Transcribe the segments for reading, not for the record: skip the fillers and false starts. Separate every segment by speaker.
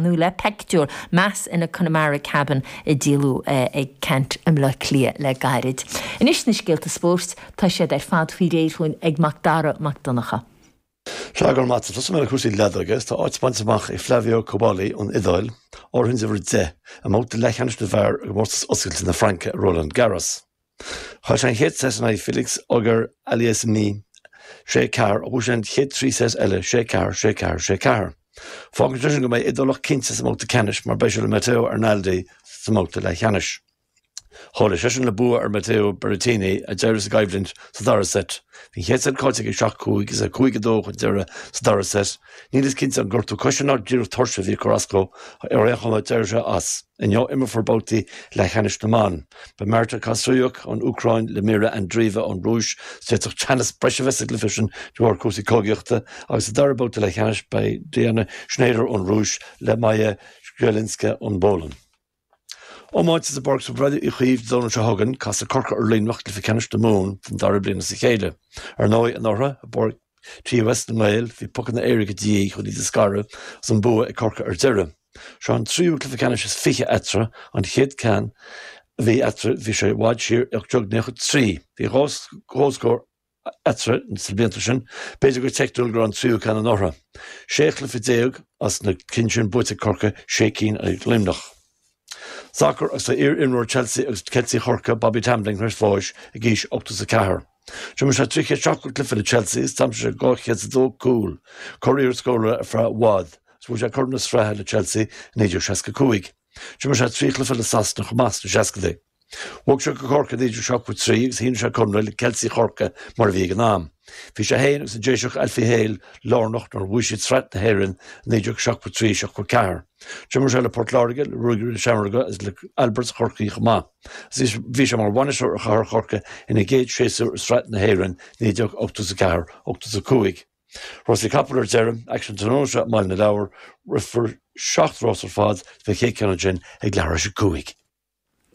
Speaker 1: nó le peictiúr, Mass in a Connemara Cabin a díoladh ag Ceannt i mBleá Cliath le gairid. Anois na scéalta spóirt, tá siad ar fad faoi réir chugainn ag Mac Dara Mac Donncha.
Speaker 2: Sea, go raibh maith agat. Tosóidh mé le cúrsaí leadóige. Tá áit bainte amach ag Flavio Cobolli ón Iodáil, áirithint uimhir 10, i mbabhta leathcheannais na bhfear i gcomórtas oscailte na Fraince i Roland Garros. Chaill sé an chéad seit in aghaidh Felix Auger-Aliassime, 6, 4, ach bhuaigh sé an chéad 3 seit eile, 6, 4, 6, 4, 6, 4. Fágann sé sin go mbeidh Iodálach cinnte sa mbabhta ceannais mar beidh sé le Matteo Arnaldi sa mbabhta leathcheannais. Chomhlaigh seisean le bua ar Matteo Berrettini, a d'éirigh as an gcoimhlint sa dara seit. Bhí an chéad seit caillte aige 7, 5 agus é 5, 2 chun deiridh sa dara seit. Níl fhios cinnte an gortú coise ná díreach tuirse a bhí ag cur as dó, ar aon chuma d'éirigh sé as. Inniu imreofar babhtaí leathcheannais na mban. Beidh Marta Kostyuk ón Úcráin le Mirra Andreeva ón Rúis. D'fhéadfadh teannas breise a bheith sa gcluiche sin de bharr cúrsaí cogaíochta agus sa dara babhta leathcheannais beidh Diana Shnaider ón Rúis le Maja Chwielinska ón bPolainn. Iomáint is i bPáirc Bhreifne Uí Chaoimh Dé Domhnaigh seo chugainn, casfaidh Corcaigh ar Luimneach i gcluiche ceannais na Mumhan don dara bliain as a chéile. Ar ndóigh, anuraidh, i bPáirc TUS na nGael, bhí pocanna éirice de dhíth chun iad a scaradh agus an bua ag Corcaigh ar deireadh. Seo an tríú cluiche ceannais is 20 eatarthu, an chéad ceann a bhí eatarthu bhí sé i bhfad siar i 1893. Bhí dhá chomhscór eatarthu sna blianta sin. B'fhéidir gur teicniúil go raibh an tríú ceann anuraidh. 16 chluiche as na cinn sin buaite ag Corcaigh, sé cinn ag Luimneach. Sacar agus tá iar-imreoir Chelsea agus Ceiltigh Chorcaí, Bobby Tambling tar éis bháis ag aois 84. D'imir sé 370 cluiche le Chelsea is d'aimsigh sé 202 cúl. Curiarracht scórála ar feadh i bhfad agus bhuaigh sé Corn na Sraithe le Chelsea i 1965. D'imir sé 3 chluiche le Sasana chomh maith sna seascadaí. Bhog sé go Corcaigh i 1973 agus shínigh sé conradh le Ceiltigh Chorcaí mar a bhí ag an am. Bhí sé féin agus an Déiseach Alfie Hale lárnach nuair a bhuaigh siad Sraith na hÉireann i 1973, 74. D'imir sé le Port Láirge, le Ruagairí na Seamróige agus le Alberts Chorcaí chomh maith. Agus bhí sé mar bhainisteoir ar Chathair Chorcaí ina gcéad séasúr i Sraith na hÉireann 1984, 85. Rásaí capall ar deireadh, aicsean tráthnóna seo i mBaile na Lobhar, rithfear 7 rás ar fad, beidh an chéad ceann ansin ag leathuair tar éis a 5.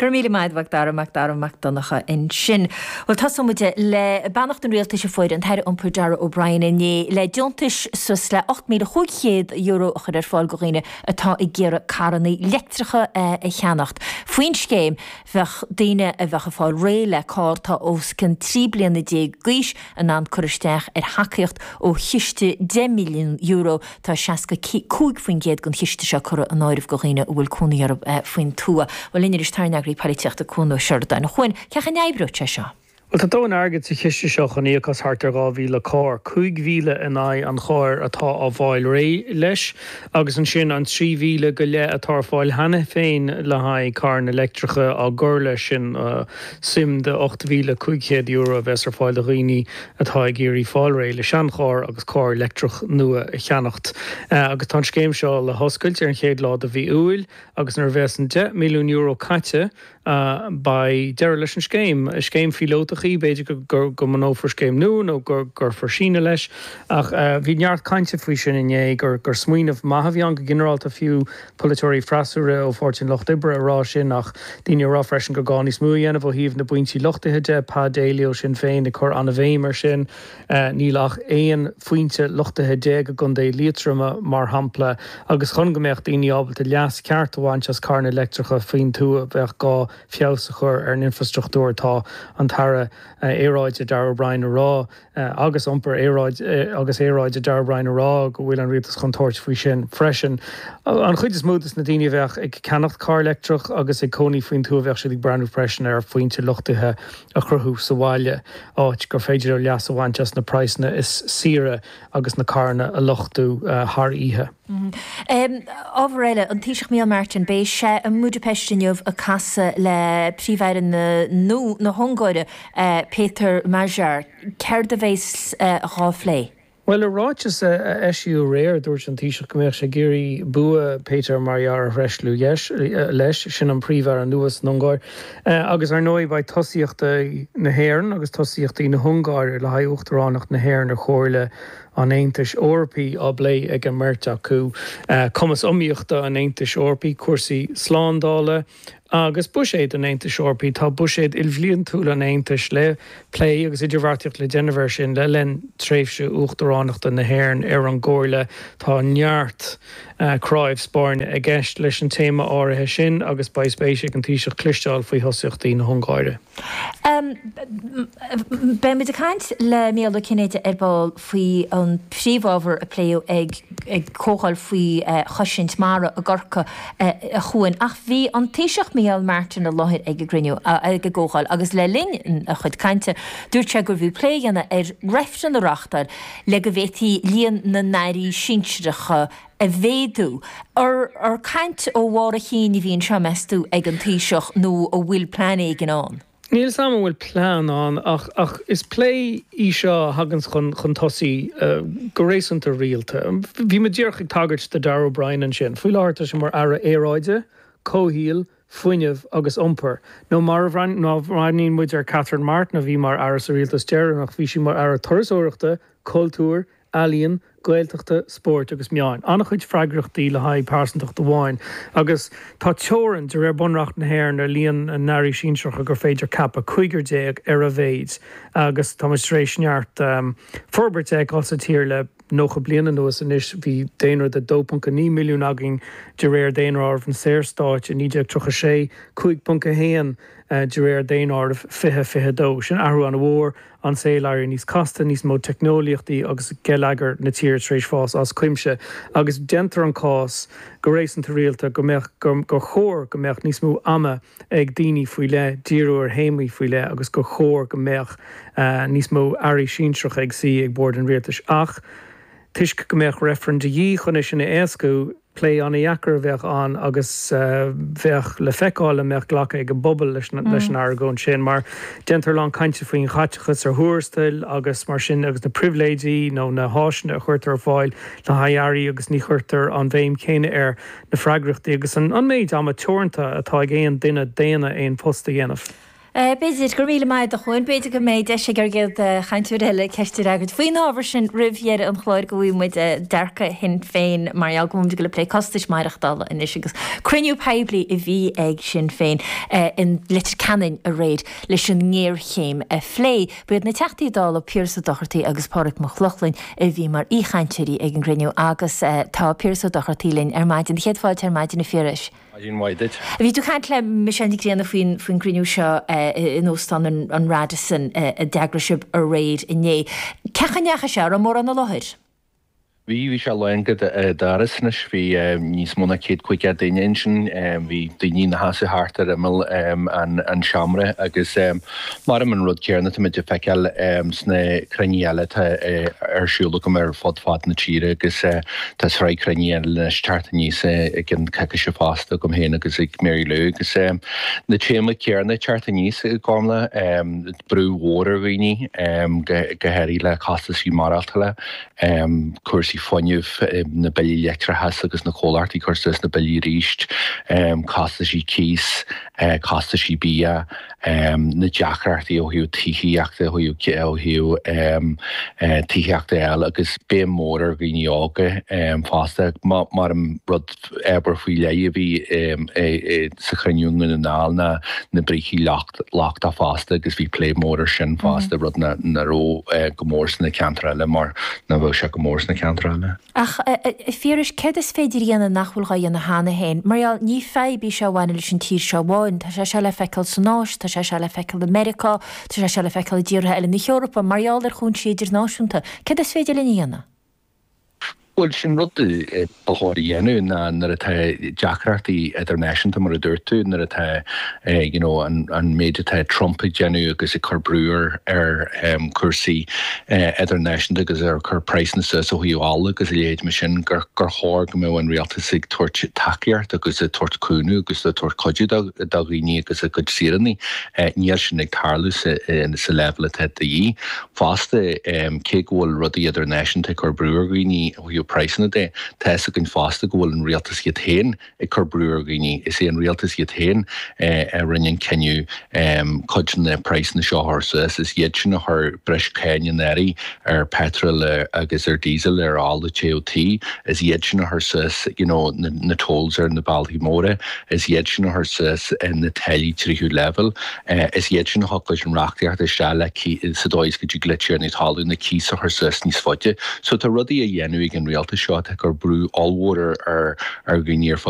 Speaker 1: Go raibh míle maith agat, Mhac Dara, Mac Dara Mac Donncha ansin. Bhuel, tosóidh muid le beannacht an Rialtais a fuair an tAire Iompair Darragh O'Brien inné le deontais suas le €8,500 a chur ar fáil do dhaoine atá ag iarraidh carranna leictreacha a cheannacht. Faoin scéim, bheadh daoine a bheadh ag fáil réidh le carr atá os cionn 13 bliana d'aois in ann cur isteach ar thacaíocht ó chiste €10 milliún Tá 65% den chiste seo curtha in áireamh do dhaoine a bhfuil cónaí orthu faoin tuath. Bhuel, linn anois tá ár n-eagraí polaitíochta, Cuan Ó Seireadáin. A Chuain, cén chaoi a n-oibreoidh sé seo?
Speaker 3: Bhuel, tá dóthain airgid sa chiste seo chun íoc as thart ar 2,000 carr, 5,000 in aghaidh an chairr atá á bhfáil réidh leis, agus ansin an 3,000 go leith atá ar fáil cheana féin le haghaidh carranna leictreacha á gcur leis sin, suim de €8,500 a bheas ar fáil do dhaoine atá ag iarraidh fáil réidh le seancharr agus carr leictreach nua a cheannacht. Agus tá an scéim seo le hoscailt ar an chéad lá de mhí Iúil agus nuair a bheas an €10 milliún caite beidh deireadh leis an scéim. Scéim phíolótach í, b'fhéidir go go mbunófar scéim nua nó go gcuirfear síneadh leis ach bhí neart cainte faoi sin inné gur gur smaoineamh maith a bhí ann go ginearálta fiú polaiteoirí freasúra ó Pháirtí an Lucht Oibre ag rá sin ach daoine ag rá freisin gur gá níos mó a dhéanamh ó thaobh na bpointí luchtaithe de, Pa Daly ó Sinn Féin ag cur an-bhéim air sin. Níl ach 11 phointe luchtaithe i gContae Liatroma, mar shampla, agus chun go mbeadh daoine ábalta leas ceart a bhaint as carranna leictreacha faoin tuath bheadh gá feabhas a chur ar an infreastruchtúr. Tá an tAire Aeráide Darragh O'Brien ag rá agus Iompair agus Aeráide Darragh O'Brien ag rá go bhfuil an rialtas chun tabhairt faoi sin freisin. An chuid is mó de na daoine a bheadh ag ceannacht carr leictreach agus ag cónaí faoin tuath bheadh siad ag breathnú freisin ar phointe luchtaithe a chruthú sa bhaile, áit gur féidir leo leas a bhaint as na praghsanna is saoire agus na carranna a luchtú thar oíche.
Speaker 1: Ábhar eile, an Taoiseach Micheál Martin, beidh sé i mBudapest inniu ag casadh le Príomh-Aire na hUngáire, Péter Magyar. Céard a bheas dhá phlé?
Speaker 3: Bhuel, i ráiteas a eisíodh aréir, dúirt an Taoiseach go mbeadh sé ag iarraidh bua Péter Magyar a thréaslú leis, sin an Príomh-Aire nua san Ungáir. Agus ar ndóigh beidh tosaíochtaí na hÉireann agus tosaíochtaí na hUngáire le haghaidh Uachtaránacht na hÉireann ar Chomhairle an Aontais Eorpaigh á bplé ag an mbeirt acu. Cumas iomaíochta an Aontais Eorpaigh, cúrsaí slándála. Agus buiséad an Aontais Eorpaigh, tá buiséad ilbhliantúil an Aontais le plé agus idirbheartaíocht le déanamh air sin le linn tréimhse uachtaránachta na hÉireann ar an gComhairle. Tá neart cnáimh spairne i gceist leis an téama áirithe sin agus beidh spéis ag an Taoiseach cloisteáil faoi thosaíochtaí na hUngáire.
Speaker 1: Beidh muid ag caint le Micheál Ó Cinnéide ar ball faoi an príomhábhar a pléadh ag ag comhdháil faoi chosaint mara i gCorcaigh a Chuain. Ach bhí an Taoiseach Micheál Martin i láthair ag an gcruinniú, ag an gcomhdháil agus le linn a chuid cainte dúirt sé gurbh fhiú plé a dhéanamh ar reifreann a reáchtáil le go bhféadfaí líon na n-airí sinsearacha a mhéadú. Ar caint ó bharr a chinn a bhí anseo, meas tú, ag an Taoiseach nó an bhfuil plean éigin ann?
Speaker 3: Níl 'fhios a'm an bhfuil plean ann ach ach is plé í seo a thaganns chun chun tosaigh go réasúnta rialta. Bhí muid díreach ag tagairt do Darragh O'Brien ansin. Faoi láthair tá sé mar Aire Aeráide, Comhshaoil, Fuinnimh agus Iompair. Nó mar a bhreathnaíonn muid ar Catherine Martin a bhí mar Aire sa rialtas deireanach, bhí sí mar Aire Turasóireachta, Cultúir, Ealaíon, Gaeltachta, Spóirt agus Meáin. An-chuid freagrachtaí le haghaidh pearsantacht amháin. Agus tá teorainn, de réir Bunreacht na hÉireann, ar líon na n-airí sinsearacha gur féidir ceapadh, cúigear déag ar a mhéid. Agus tá muid tar éis neart forbairt a fheiceáil sa tír le 90 bliain anuas anois. Bhí daonra de 2.9 milliún againn de réir Daonáireamh na Saorstáit i 1936, 5.1 de réir Daonáireamh 2022. Sin athrú an-mhór. an saol ag éirí níos casta, níos mó teicneolaíochtaí agus geilleagar na tíre tar éis fás as cuimse agus déantar an cás go réasúnta rialta go mbeadh, gur chóir go mbeadh níos mó ama ag daoine faoi leith díriú ar théamaí faoi leith agus gur chóir go mbeadh níos mó airí sinsearacha ag suí ag bord an rialtais. Ach toisc go mbeadh reifreann de dhíth chun é sin a éascú, Plé an-dheacair a bheadh ann agus bheadh le feiceáil an mbeadh glacadh ag an bpobal leis an argóint sin mar déantar a lán cainte faoin chaiteachas ar thuarastail agus mar sin agus na pribhléidí nó na háiseanna a chuirtear ar fáil le haghaidh airí agus ní chuirtear an bhéim chéanna ar na freagrachtaí agus an méid ama teoranta atá ag aon duine daonna aon phost a dhéanamh.
Speaker 1: B'fhéidir, go raibh míle maith agat a Chuain, b'fhéidir go mbeidh deis ag ár gcéad chainteoir eile ceist a fhreagairt faoin ábhar sin roimh dheireadh an chláir go bhfaighidh muid dearcadh Shinn Féin mar gheall go bhfuil muid ag dul ag plé costais maireachtála anois agus cruinniú poiblí a bhí ag Sinn Féin i Leitir Ceanainn aréir leis an ngéarchéim a phlé. Ba iad na Teachtaí Dála Piaras Ó Dochartaigh agus Pádraig Mac Lochlainn a bhí mar aoichainteoirí ag an gcruinniú agus tá Piaras Ó Dochartaigh linn ar maidin. Céad fáilte ar maidin a Phiarais.
Speaker 4: Maidin mhaith duit.
Speaker 1: Bhí tú ag caint le Michelle Nic Grianna faoin faoin gcruinniú seo in Óstán an Radisson a d'eagraigh sibh aréir inné. Cén chaoi a ndeachaigh sé? An raibh mórán i láthair?
Speaker 4: Bhí, bhí sé lán go doras anois. Bhí níos mó ná 150 duine ansin. Bhí daoine ina seasamh thart ar imeall an seomra agus maram an rud céanna tá muid ag feiceáil sna cruinnithe eile atá ar siúl agam ar fud fad na tíre agus Tá sraith cruinnithe eile anois teacht aníos i gceann coicíse fosta agam féin agus ag Mary Lou agus na téamaí céanna ag teacht aníos i gcónaí, brú mhór ar dhaoine, go háirithe le costaisí maireachtála, cúrsaí fuinnimh, na billí leictreachais agus na comhlachtaí ag cur suas na billí arís, costaisí cíos, costaisí bia. na deacrachtaí ó thaobh tithíochta, ó thaobh tithíochta a fháil agus béim mhór ar dhaoine óga fosta. Mar an rud ábhar faoi leith a bhí sa chruinniú i nDún na nGall ná na brící lochtacha fosta agus bhí plé mór ar sin fosta, rud nach raibh go mór sna ceantair eile mar nach bheadh sé go mór sna ceantair eile.
Speaker 1: Ach, a Phiarais, céard is féidir a dhéanamh nach bhfuil dhá dhéanamh cheana féin? Mar gheall, ní fadhb í seo a bhaineann leis an tír seo amháin, tá sé seo le feiceáil san Áis, tá sé seo le feiceáil i Meiriceá, tá sé seo le feiceáil i dtíortha eile na hEorpa, mar gheall ar chúinsí idirnáisiúnta. Céard is féidir linn a dhéanamh?
Speaker 4: Bhuel, sin rud ba chóir a dhéanamh ná nuair atá deacrachtaí idirnáisiúnta, mar a dúirt tú, nuair atá you know an méid atá Trump ag déanamh agus ag cur brú ar ar chúrsaí idirnáisiúnta agus ag cur praghsanna suas ó thaobh ola agus a leithéid mar sin, gur chóir go mbeadh an rialtas ag tabhairt tacaíocht agus ag tabhairt cúnamh agus ag tabhairt cuidiú do dhaoine agus a gcuid saoránaigh. Níl sin ag tarlú sa leibhéal atá de dhíth. Fosta, cé go bhfuil rudaí idirnáisiúnta ag cur brú ar dhaoine ó thaobh. praghsanna de. Tá fhios againn fosta go bhfuil an rialtas iad féin ag cur brú ar dhaoine. Is é an rialtas iad féin a rinne an cinneadh cuid de na praghsanna seo a chur suas. Is iad sin a chuir breis cáin anuraidh ar petrol agus ar diesel, ar ola téamh tí. Is iad sin a chuir suas you know na tolls ar na bealaí móra. Is iad sin a chuir suas na táillí tríú leibhéal. Is iad sin a thug leis an reachtaíocht isteach le sa dóigh is go dtig le tiarnaí talún na cíos a chur suas níos faide. So tá rudaí á dhéanamh ag an rialtas seo atá ag cur brú ollmhór ar ar dhaoine ar fud.